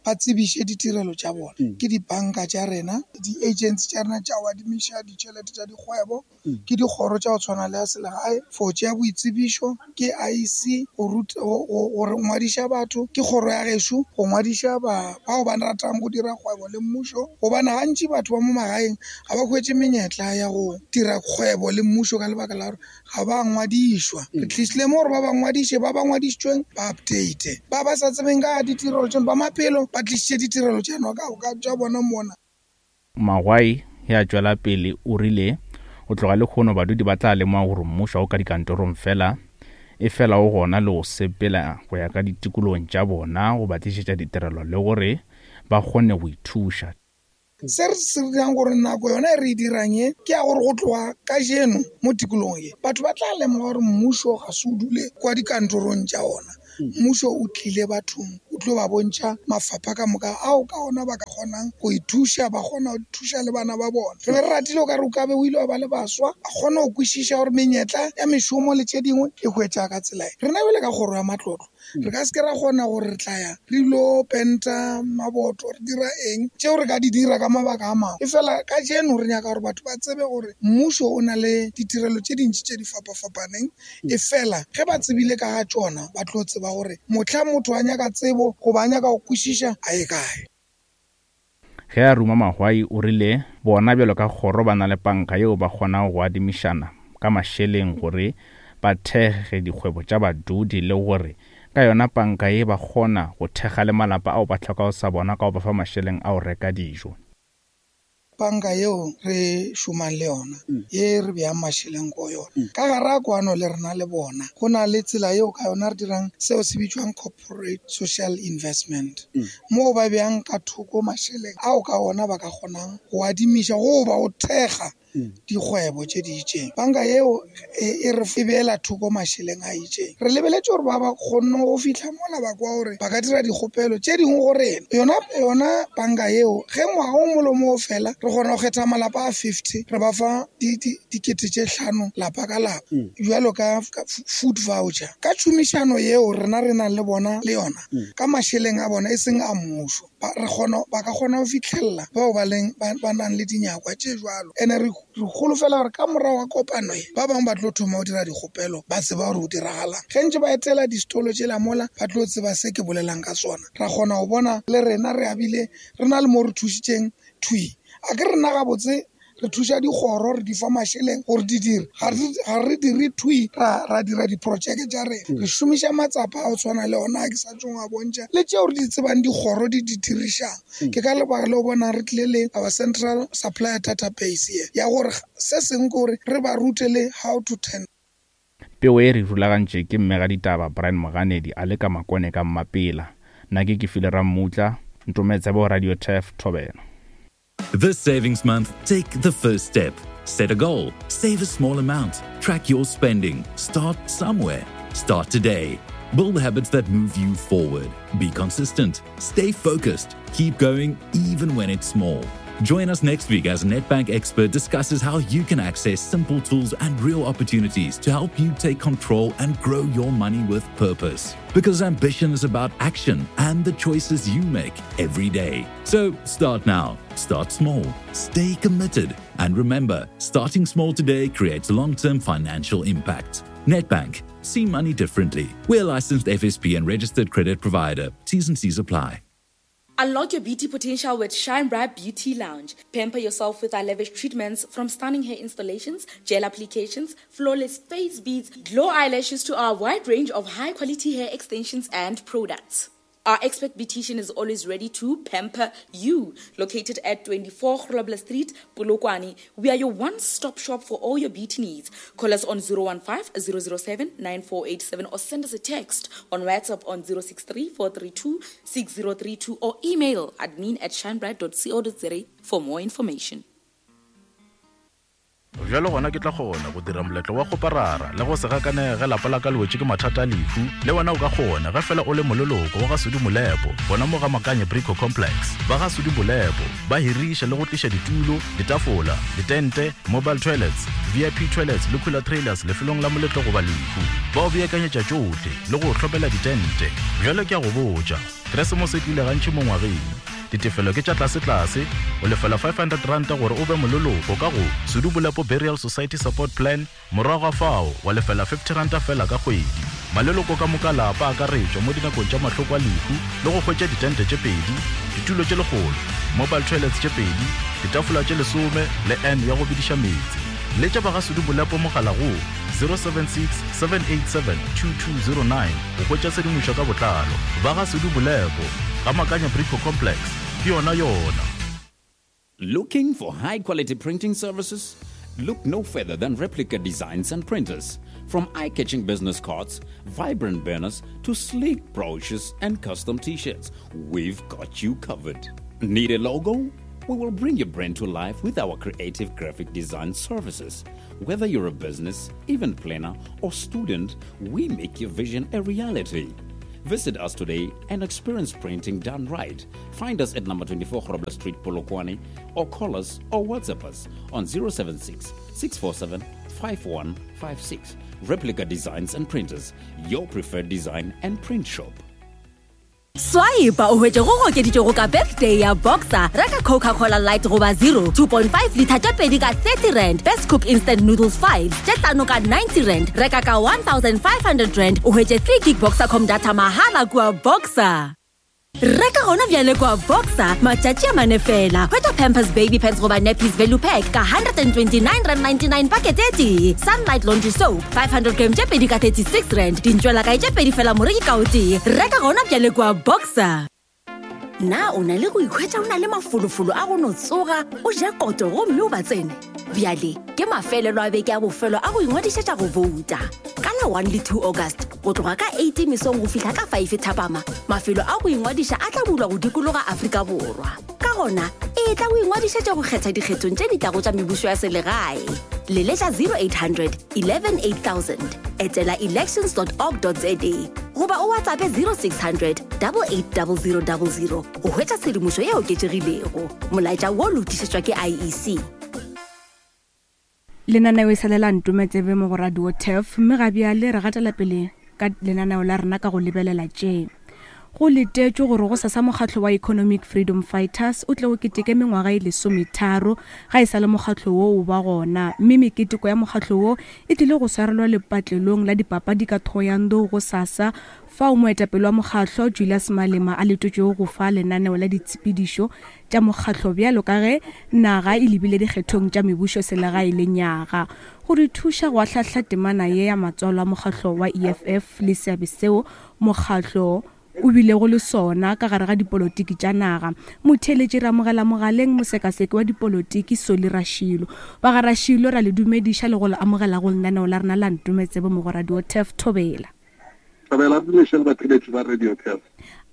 ba tsebiše ditirelo tša bona. Ke dibanka tša rena, di-agency tša rena tša go adimiša ditšhelete tša dikgwebo, ke dikgoro tša go tshwana le ya selegae for tšea boitsebišo, ke IEC go ruta go ngwadiša batho, ke kgoro ya gešo go ngwadiša ba bao ba ratang go dira kgwebo le mmušo gobane gantši batho ba mo magaeng ga ba hwetše menyetla ya go dira kgwebo le mmušo ka lebaka la gore ga ba ngwadišwa. Re tlišile mo gore ba ba ngwadiše, ba ba ngwadišitšweng ba update, ba ba sa tsebeng ka ditirelo tšeno ba maphelo ba tlišitše ditirelo tšeno tša bona mona. Magwai ge a tšwela pele o rile go tloga lehono badudi ba tla lemoga gore mmušo ga o ka dikantorong fela, efela o gona le go sepela go ya ka ditikologong tša bona go ba tlišetša ditirelo le gore ba kgone go ithuša. Se re se dirang gore nako yona e re e dirang ye ke ya gore go tloga kajeno mo tikologong ye batho ba tla lemoga gore mmušo ga se o dule kwa dikantorong tša ona. Mmušo o tlile bathong o tlo ba bontšha mafapha ka moka ao ka ona ba ka kgonang go ithuša, ba kgona go thuša le bana ba bona. Re be re ratile o ka re o ka be o ile wa ba le baswa ba kgona go kwešiša gore menyetla ya mešomo le tše dingwe e hwetša ka tsela e. Rena bjale ka kgoro ya matlotlo re ka se ke ra kgona gore re tla ya re ilo penta maboto re dira eng tšeo re ka di dira ka mabaka a mangwe efela kajeno re nyaka gore batho ba tsebe gore mmušo o na le ditirelo tše dintši tše di fapafapaneng efela ge ba tsebile ka ga tšona ba tlo tseba gore mohla motho a nyaka tsebo goba a nyaka go kwešiša a ye kae. Ge a ruma Mahwai o rile bona bjalo ka kgoro ba na le panka yeo ba kgonago go adimišana ka mašeleng gore ba thekge dikgwebo tša badudi le gore ka yona panka ye ba kgona go thekga le malapa ao ba hlokago sa bona ka go ba fa mašeleng a go reka dijo. Panka yeo re šomang le yona, ye re beang mašeleng go yona, ka gare ga kwano le rena le bona, go na le tsela yeo ka yona re dirang seo se bitšwang corporate social investment, moo ba beang ka thoko mašeleng ao ka ona ba ka kgonang go adimiša goba go thekga dikgwebo tše di itšeng. Panka yeo e re e beela thoko mašeleng a itšeng. Re lebeletše gore ba ba kgonne go fihla mola ba kwa gore ba ka dira dikgopelo tše dingwe go rena. Yona yona panka yeo ge ngwaga o mongwe le o mongwe o fela re kgona go kgetha malapa a 50 re ba fa dikete tše hlano lapa ka lapa bjalo ka food voucher. Ka tšhomišano yeo rena re nang le bona le yona ka mašeleng a bona e seng a mmušo. Ba re kgona, ba ka kgona go fihlelela bao ba leng, ba, ba nang le dinyakwa tše bjalo. Ene re, re holofela gore ka morago ga kopano ye, ba bangwe ba tlo thoma go dira dikgopelo, ba tseba gore go diragalang. Ge ntše ba etela disitolo tšela mola, ba tlo tseba se ke bolelang ka sona. Ra kgona go bona le rena re abile re na le mo re thušitšeng thwi. A ke rena gabotse re thuša dikgoro re di fa mašeleng gore di dire ga re dire thwi ra, ra dira diprojeke tša rena re šomiša matsapa a go tshwana le ona a ke sa tšong a bontšha le tšeo re di tsebang dikgoro di di dirišang ke ka lebaka le o bonang re tlile le our central supplier database ye ya gore se sengwe ke gore re ba rute le how to tender. Pego e re rulagantše ke mmegaditaba Brian Moganedi a le ka Makone ka Mmapela. Nna ke Kefile Rammutla, Ntometsebo Radio Turf, Thobela. This savings month, take the first step. Set a goal, save a small amount, track your spending, start somewhere. Start today. Build habits that move you forward. Be consistent, stay focused, keep going even when it's small. Join us next week as Nedbank expert discusses how you can access simple tools and real opportunities to help you take control and grow your money with purpose. Because ambition is about action and the choices you make every day. So start now, start small, stay committed, and remember starting small today creates long term financial impact. Nedbank, see money differently. We're licensed FSP and registered credit provider. T's and C's apply. Unlock your beauty potential with Shine Bright Beauty Lounge. Pamper yourself with our lavish treatments from stunning hair installations, gel applications, flawless face beads, glow eyelashes to our wide range of high quality hair extensions and products. Our expert beautician is always ready to pamper you. Located at 24 Grobler Street, Polokwane, we are your one-stop shop for all your beauty needs. Call us on 015 007 9487 or send us a text on WhatsApp on 063 432 6032 or email admin at shinebright.co.za for more information. Bjalo gona ke tla kgona go dira moletlo wa kgoparara le go se gakanege ge lapa la ka le wetše ke mathata a lehu. Le wena o ka kgona ge fela o le moleloko wa ga Sudi Molepo gona mo ga Makanye Brico Complex. Ba ga Sudi Molepo ba hiriša le go tliša ditulo, ditafola, ditente, mobile toilets, VIP toilets le cooler trailers lefelong la moletlo goba lehu. Ba o beakanyetša tšohle le go o hlomela ditente. Bjalo ke a go botša, Keresemose e tlile gantši mo ngwageng. Ditefelo ke tša tlasetlase, o lefela R500 gore o be moleloko ka go Sudu Bolepo Burial Society Support Plan, morago ga fao wa lefela R50 feela ka kgwedi. Maleloko ka moka lapa a akaretšwa mo dinakong tša mahloko a lehu le go hwetša ditente tše pedi, ditulo tše lekgolo, mobile toilets tše pedi, ditafola tše lesome le urn ya go bediša meetse. Letša ba ga Sudu Bolepo mogala go 076 787 2209 go hwetša tshedimošo ka botlalo. Ba ga Sudu Bolepo, ga Makanya Brico Complex, ke yona yona. Looking for high quality printing services? Look no further than Replica Designs and Printers. From eye catching business cards, vibrant banners, to sleek brochures and custom t shirts, we've got you covered. Need a logo? We will bring your brand to life with our creative graphic design services. Whether you're a business, event planner, or student, we make your vision a reality. Visit us today and experience printing done right. Find us at number 24 Grobler Street, Polokwane, or call us or WhatsApp us on 076 647 5156. Replica Designs and Printers, your preferred design and print shop. Swipe o hwetše go gokeditšwego ka birthday ya Boxer. Reka Coca-Cola Light goba Zero 2.5 litha tše pedi ka 30 rand. Best Cook Instant Noodles 5 tše hlano ka 90 rand. Reka ka 1500 rand o hwetše 3 gig Boxercom data mahala kua Boxer. Reka gona bjale kua Boxer matšatši a mane fela. Hwetša Pampers Baby Pants goba Nappies Value Pack ka 129 rand 99 pakete e tee. Sunlight Laundry Soap 500 gram tše pedi ka 36 rand. Dintšwelakae tše pedi fela moreki ka o tee. Reka gona bjale kua Boxer. Na o na le go ikhwetša o na le mafolofolo a go no tsoga o ja koto gomme o ba tsene? Bjale ke mafelelo a beke a bofelo a go ingwadišetša go bouta. Ka la 1 le 2 August go tloga ka 8 mesong go fihla ka 5 thapama, mafelo a go ingwadiša a tla bulwa go dikologa Afrika Borwa. Ka gona, etla o ingwadišetše go kgetha dikgethong tše di tlago tša mebušo ya selegae. Leletša 0800 11 8000, etela elections.org.za goba o WhatsAppe 0600 880000 go hwetša tshedimošo e oketšegilego. Molaetša wo le o tlišetšwa ke IEC. Lenaneo e sa le la Ntome Tsebe mo go Radio Turf, mme ga bjale re gatela pele ka lenaneo la rena ka go lebelela tše. Go letetšwe gore go sasa mokgatlo wa Economic Freedom Fighters o tle o keteke mengwaga e lesometharo ga e sa le mokgatlo wo o ba gona, mme meketeko ya mokgatlo wo e tlile go swarelwa lepatlelong la dipapadi ka Thohoyandou go sasa, fao moetapele wa mokgatlo Julius Malema a letetšwego go fa lenaneo la ditshepedišo tša mokgatlo bjalo ka ge naga e lebile dikgethong tša mebušo selegae lenyaga. Go re thuša go ahlahla temana ye ya matswalo a mokgatlo wa EFF le seabe seo mokgatlo o bilego le sona ka gare ga dipolotiki tša naga. Motheeletši re amogela mogaleng mosekaseki wa dipolotiki Solly Rashilo. Ba ga Rashilo ra le dumediša le go le amogela go lenaneo la rena la Ntometsebe mo go Radio Turf Thobela. Thobela re dumeše le batheeletši ba Radio Turf.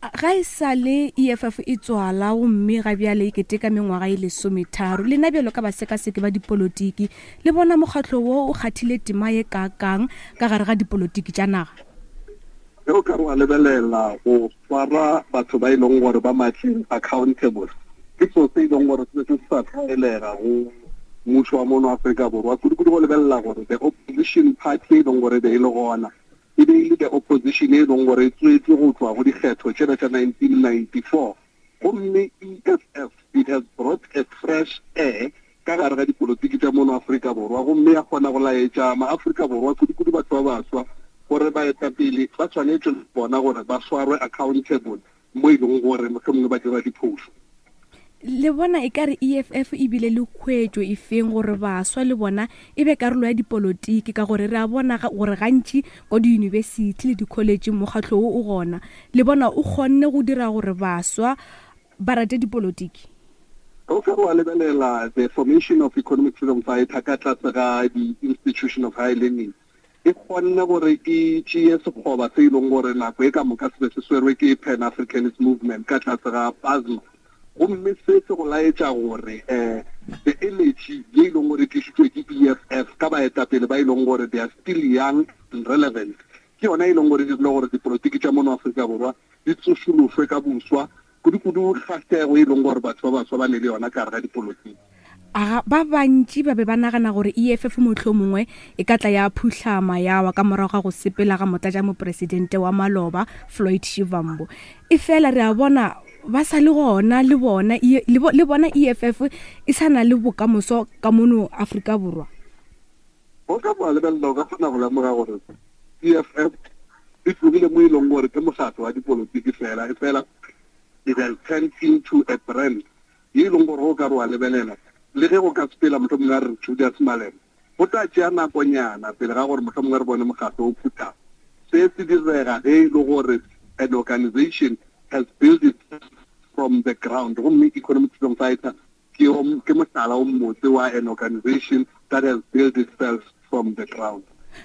Ga e sa le EFF e tswala gomme ga bjale e keteka mengwaga e lesometharo, lena bjalo ka basekaseki ba dipolotiki le bona mokgatlo wo o kgathile tema ye kaakang ka gare ga dipolotiki tša naga? Ge o ka re wa lebelela go swara batho ba e leng gore ba matleng accountable, ke selo se e leng gore se be se sa tlwaelega go mmušo wa mono Afrika Borwa, kudu-kudu go lebelela gore the opposition party e leng gore e be e le gona e be e le the opposition e leng gore e tswetšwe go tšwa go dikgetho tšela tša 1994. Gomme EFF it has brought a fresh air ka gare ga dipolotiki tša mono Afrika Borwa gomme ya kgona go laetša maAfrika Borwa, kudu-kudu batho ba baswa, gore baetapele ba swanetšwe le bona gore ba swarwe accountable mo e leng gore mohlomongwe ba dira diphošo. Le bona e ka re EFF e bile le khuetšo e feng gore baswa le bona e be karolo ya dipolotiki, ka gore re a bona gore gantši ko diyunibesithi le dikholetšeng mokgatlo wo o gona. Le bona o kgonne go dira gore baswa ba rate dipolotiki? Ge o ka re wa lebelela the formation of Economic Freedom Fighter ka tlase ga di-institution of high learning, e kgonne gore e tšeye sekgoba se e leng gore nako e ka moka se be se swerwe ke Pan Africanist Movement ka tlase ga PASMA. Gomme se se go laetša gore um the energy ye e leng gore e tlišitšwe ke EFF ka baetapele ba e leng gore they are still young and relevant, ke yona e leng gore e dirile gore dipolotiki tša mono Afrika Borwa di tsošološwe ka boswa, kudu-kudu kgahlego e leng gore batho ba baswa ba ne le yona ka gare ga dipolotiki. A Ba bantši ba be ba nagana gore EFF mohlomongwe e ka tla ya phuhlama ya wa ka morago ga go sepela ga motlatšamopresidente wa maloba Floyd Shivambu. Efela re a bona ba sa le gona le bona le bona EFF e sa na le bokamoso ka mono Afrika Borwa. O ka bo lebelela o ka kgona go lemoga gore EFF e tlogile mo e leng gore ke mokgatlo wa dipolotiki fela, efela it has turned into a brand ye e leng gore o ka re wa lebelela, le ge go ka sepela mohlomongwe a re Julius Malema, go tla tšea nakonyana pele ga gore mohlomongwe re bone mokgatlo o phutha. Se se direga ge e le gore an organization has built itself from the ground, gomme Economic Freedom Fighter ke, ke mohlala o mmotse wa an organization that has built itself from the ground.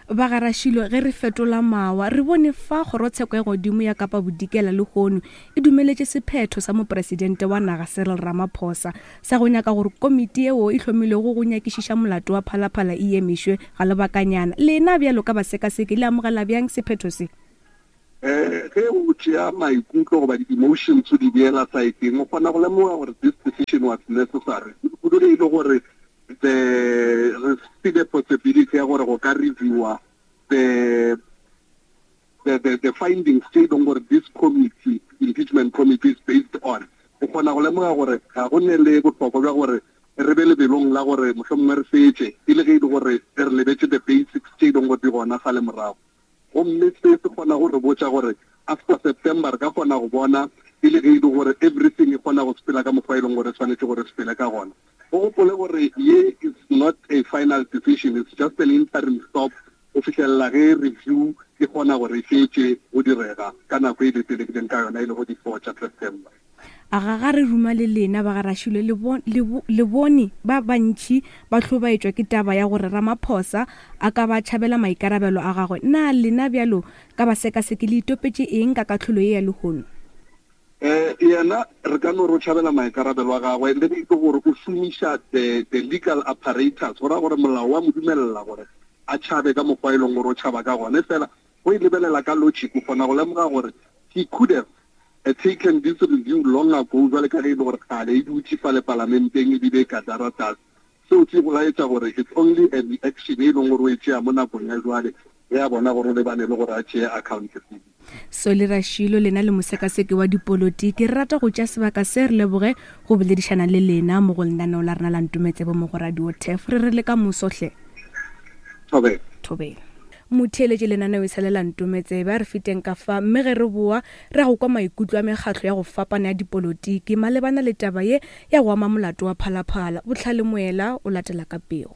Ba ga Rašilo, ge re fetola mawa, re bone fa Kgorotsheko ya Godimo ya Kapa Bodikela lehono e dumeletše sephetho sa Mopresidente wa naga Cyril Ramaphosa sa go nyaka gore komiti yeo e hlomilwego go nyakišiša molato wa Phalaphala e emišwe ga lebakanyana. Lena bjalo ka basekaseki le amogela bjang sephetho se? Um ge o tšea maikutlo goba di-emotions o di beela saeteng, o kgona go lemoga gore this decision was necessary, kudu ge e le gore the re file possibility ya gore go ka reviewa the the the, the findings tse e leng gore this committee impeachment committee is based on. O kgona go lemoga gore ga go ne le bohlokwa bja gore re be lebelong la gore mohlomongwe re fetše e le ge e le gore re lebetše the basics tše e leng gore di gona fale morago. Gomme se se kgona go re botša gore after September re ka kgona go bona e le ge e le gore everything e kgona go sepela ka mokgwa e leng gore e swanetše gore e sepele ka gona. O gopole gore ye is not a final decision, it's just an interim stop go fihlelela ge review e kgona gore e fetše go direga ka nako e letelekileng ka yona e lego di four tša September. A ga ga re ruma le lena ba ga Rašilo le, bo, le, bo, le bone ba bantši ba hlobaetšwa ke taba ya gore Ramaphosa a ka ba tšhabela maikarabelo a gagwe. Na lena bjalo ka basekaseki le itopetše eng ka kahlolo ye ya lehono? Eh, yena re ka no re o tšhabela maikarabelo a gagwe le ge e le gore o šomiša the, the legal apparatus, go ra gore molao wa mo dumelela gore a tšhabe ka mokgwa e leng gore o tšhaba ka gona. Efela go e lebelela ka logic o kgona go lemoga gore he could have taken this review long ago jwale ka ge e le gore kgale e dutše fale palamenteng ebile e ka daratas. Seo se go laetša gore it's only a reaction e leng gore o e tšea mo nakong ya jwale ge a bona gore o lebane le gore a tšee accountability. Solly Rashilo, lena le mosekaseki wa dipolotiki, re rata go tšea sebaka se re leboge go boledišana le lena mo go lenaneo la rena la Ntometsebo mo go Radio Turf. Re re le ka moso hle. Thobela. Thobela. Motheeletši lenaneo e sa le la Ntometsebe, a re feteng ka fa mme ge re boa re ya go kwa maikutlo a mekgatlo ya go fapana ya dipolotiki malebana le taba ye ya go ama molato wa Phalaphala. Bohlale Moela o latela ka pego.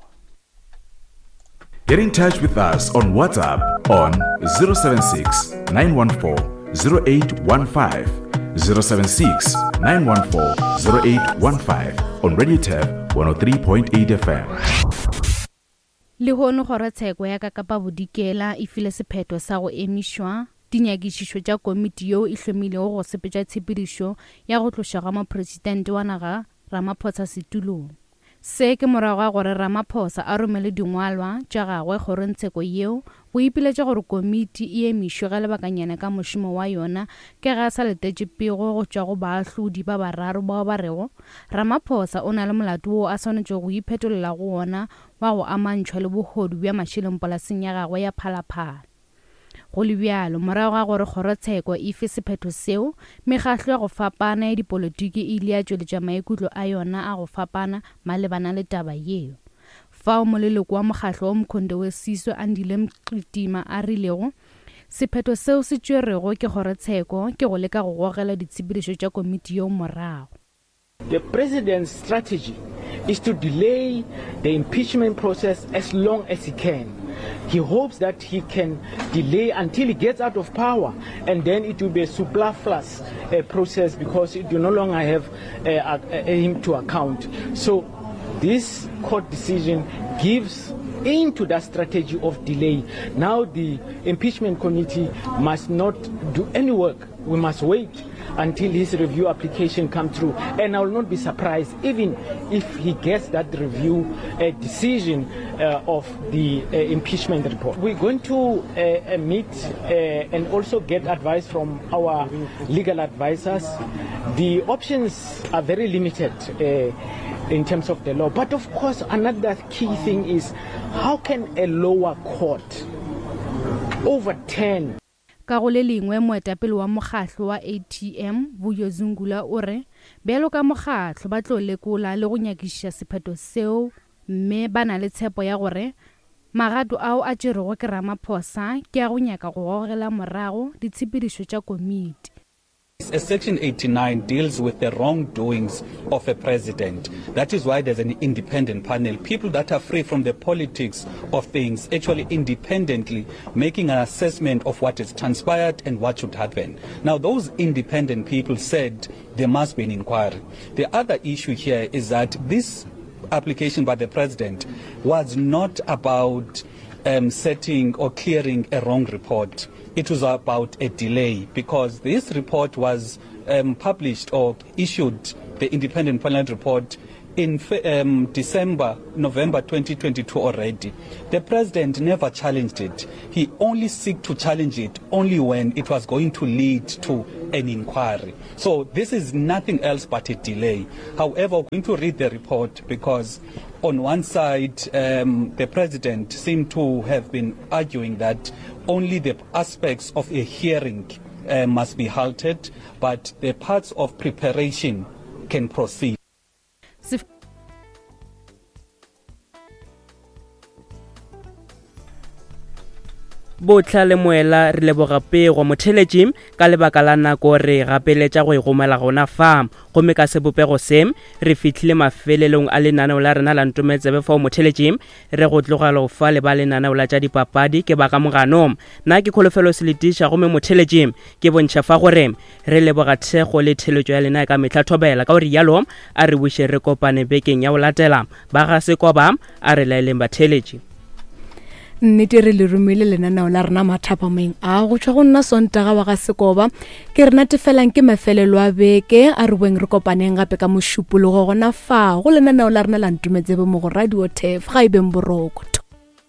Get in touch with us on WhatsApp on 076 914 0815. 076 914 0815 on Radio Tab 103.8 FM. Lehono Kgorotsheko ya ka Kapa Bodikela e file sephetho sa go emišwa dinyakišišo tša komiti yeo e hlomilego go sepetša tshepedišo ya go tlošwa ga Mopresidente wa naga Ramaphosa setulong. Se ke morago ga gore Ramaphosa a romele dingwalwa tša gagwe kgorongtsheko yeo go ipiletša gore komiti e emišwe ga lebakanyana ka mošomo wa yona ka ge a sa letetše pego go tšwa go baahlodi ba bararo bao ba rego Ramaphosa o na le molato wo a swanetšego go iphetolela go wona wa go amantšhwa le bohodu bja mašeleng polaseng ya gagwe ya Phalaphala. Go le bjalo, morago ga gore kgorotsheko e fe sephetho seo, mekgahlo ya go fapana ya dipolotiki e ile ya tšweletša maikutlo a yona a go fapana malebana le taba yeo. Fao moleloko wa mokgahlo wa Umkhonto we Sizwe Andile Mgijima a rilego, Sephetho seo se tšwerwego ke kgorotsheko ke go leka go gogela ditshepedišo tša komiti yeo morago. The president's strategy is to delay the impeachment process as long as he can. He hopes that he can delay until he gets out of power, and then it will be a superfluous uh, process because it will no longer have uh, uh, him to account. So this court decision gives into that strategy of delay. Now the impeachment committee must not do any work. We must wait until his review application comes through. And I will not be surprised even if he gets that review uh, decision uh, of the uh, impeachment report. We're going to uh, uh, meet uh, and also get advice from our legal advisors. The options are very limited uh, in terms of the law. But of course, another key thing is how can a lower court overturn Ka go le lengwe, moetapele wa mokgahlo wa ATM, Vuyo Zungula o re bjalo ka mokgahlo ba tlo lekola le go nyakišiša sephetho seo mme ba na le tshepo ya gore magato ao a tšerwego ke Ramaphosa ke a go nyaka go gogela morago ditshepedišo tša komiti. Section 89 deals with the wrongdoings of a president. That is why there's an independent panel. People that are free from the politics of things, actually independently making an assessment of what has transpired and what should happen. Now, those independent people said there must be an inquiry. The other issue here is that this application by the president was not about um, setting or clearing a wrong report. It was about a delay because this report was um, published or issued, the independent panel report, in um, December, November 2022 already. The president never challenged it. He only seek to challenge it only when it was going to lead to an inquiry. So this is nothing else but a delay. However, we're going to read the report because on one side, um, the president seemed to have been arguing that only the aspects of a hearing uh, must be halted, but the parts of preparation can proceed. Bohla le Moela re leboga pego motheletši ka lebaka la nako re gapeletša go e gomela gona fa gomme ka sebopego se re fihlile mafelelong a lenaneo la rena la ntometsebe fao motheletši re go tlogela go fa le ba lenaneo la tša dipapadi ke ba ka mogano nna ke kholofelo seletiša gomme motheletši ke bontšha fa gore Re leboga thekgo le theletšo ya lena ka mehla thobela. Ka go rialo, a re buše re kopane bekeng ya go latela. Ba ga Sekoba, a re laeleng batheeletši. Nnete re le romile lenaneo la rena mathapameng a go tšwa go nna Sontaga wa ga Sekoba. Ke re natefelang ke mafelelo a beke, a re boeng re kopaneng gape ka Mošupologo gona fa go lenaneo la rena la Ntumetsebe mo go Radio Turf. Ga e beng boroko.